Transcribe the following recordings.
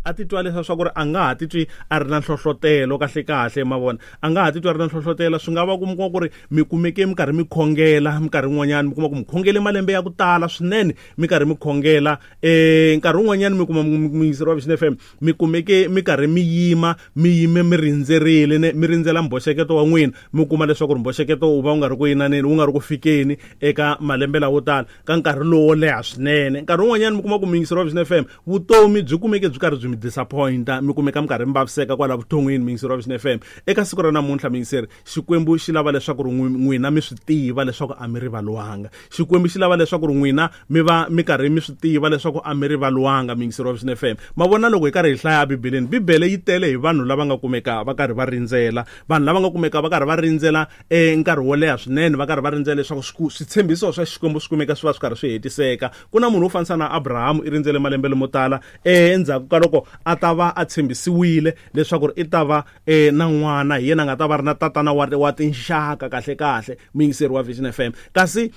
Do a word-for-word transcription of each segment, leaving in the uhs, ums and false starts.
A titwa leswaku ri a nga ha titwi a ri na nhlohlotelo kahle kahle ma vona a nga ha titwi a ri na nhlohlotelo. Swi nga va ku mi kuma ku ri mi kumeke mi karhi mi khongela minkarhi yin'wanyana, mi kuma ku mi khongele malembe ya ku tala swinene mi karhi mi khongela. um nkarhi wun'wanyana mi kuma muyingiseri wa Vision F M mi kumeke mi karhi mi yima mi yime mi rindzerile ne mi rindzela mbhoxeketo wa n'wina, mi kuma leswaku ri mbhoxeketo wu va wu nga ri ku yinaneni, wu nga ri ku fikeni eka malembe lawo tala ka nkarhi lowo leha swinene. Nkarhi wun'wanyana mi kuma ku muyingiseri wa Vision F M vutomi byi kumeke byi karhi byi mi disappointa, mi kumeka mi karhi mi vaviseka kwala vuton'wini. Muyingiseri wa Vision F M, eka siku ra namuntlha muyingiseri, Xikwembu xi lava leswaku ri n'wina mi swi tiva leswaku a mi rivalwanga. Xikwembu xi lava leswaku ri n'wina mi va mi karhi mi swi tiva leswaku a mi rivalwanga. Muyingiseri wa Vision F M, ma vona loko hi karhi hi hlaya Bibeleni, Bibele yi tele hi vanhu lava nga kumeka va karhi va rindzela, vanhu lava nga kumeka va karhi va rindzela eh nkarhi wo leha swinene, va karhi va rindzela leswaku switshembiso swa Xikwembu swi kumeka swi va swi karhi swi hetiseka. Ku na munhu wo fanisa na Abraham, i rindzele malembe lamo tala eh endzhaku ka loko a ta va a tshembisiwile leswaku i ta va eh na n'wana, hi yena a nga ta va ri na tatana wa wa tinxaka kahle kahle. Muyingiseri wa Vision F M, kasi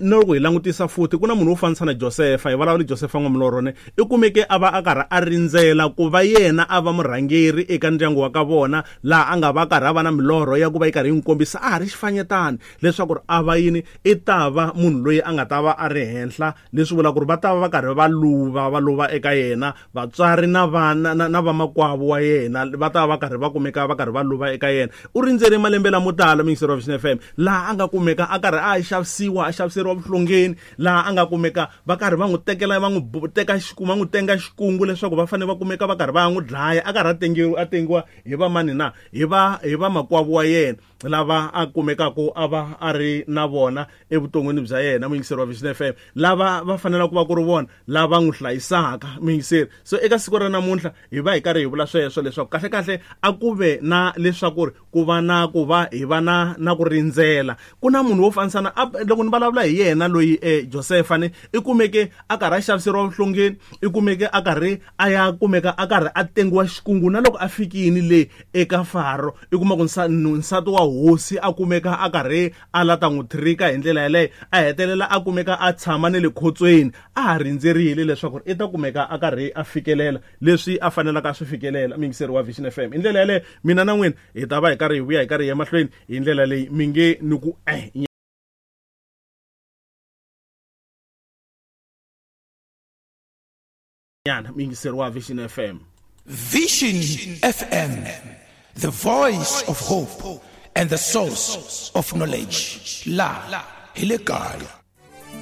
na loko hi langutisa futhi ku na munhu wo fanisa na Josefa, hi vulavula Josefa n'wamilorone, i kumeke a va a karhi a rindzela ku va yena a va murhangeri eka ndyangu wa ka vona, laha a nga va karhi a va na milorho ya ku va yi karhi yi n'wi kombisa a ha ri xifanyetana leswaku a va yini, i ta va munhu loyi a nga ta va a ri henhla, leswi vulaka ku ri va ta va va karhi va luva va luva eka yena, vatswari na vana na vamakwavo wa yena va ta va karhi va kumeka va karhi va luva eka yena. U rindzele malembe lamo tala muyingiseri wa Vision F M, laha a nga kumeka a karhi a xavisiwa, a xaviseriwa vuhlongeni, laha a nga kumeka va karhi va n'wi tekela va n'wi teka xikungu, va n'wi tenga xikungu leswaku va fanele va kumeka va karhi va n'wi dlaya, a karhi a tengiwa a tengiwa hi va mani na hi va hi vamakwavo wa yena lava a kumekaka a va a ri na vona evuton'wini bya yena. Muyingiseri wa Vision F M, lava va fanelaka ku va ku ri vona lava n'wi hlayisaka muyingiseri. So eka siku ra namuntlha hi va hi karhi hi vula sweswo leswaku kahle kahle a ku ve na leswaku ri ku va na ku va hi va na na ku rindzela. Ku na munhu wo fanisa na loko ni vulavula hi yena loyi eh, Josefa ni i kumeke a karhi a xaviseriwa vuhlongeni, i kumeke a karhi a ya kumeka a karhi a tengiwa xikungu, na loko a fikini le eka Faro i kuma ku nsati wa hosi a kumeka a karhi a la ta n'wi trika hi ndlela yaleyo, a hetelela a kumeka a tshama ne le khotsweni a ha rindzerile leswaku i ta kumeka a karhi a fikelela leswi a fanelaka a swi fikelela. Muyingiseri wa Vision F M, hi ndlela yaleyo mina na n'wina hi ta va hi karhi hi vuya hi karhi hi ya mahlweni hi ndlela leyi mi nge ni ku eh nyana. Muyingiseri wa Vision F M. Vision F M, the voice of hope and the source of knowledge. La hi le kaya.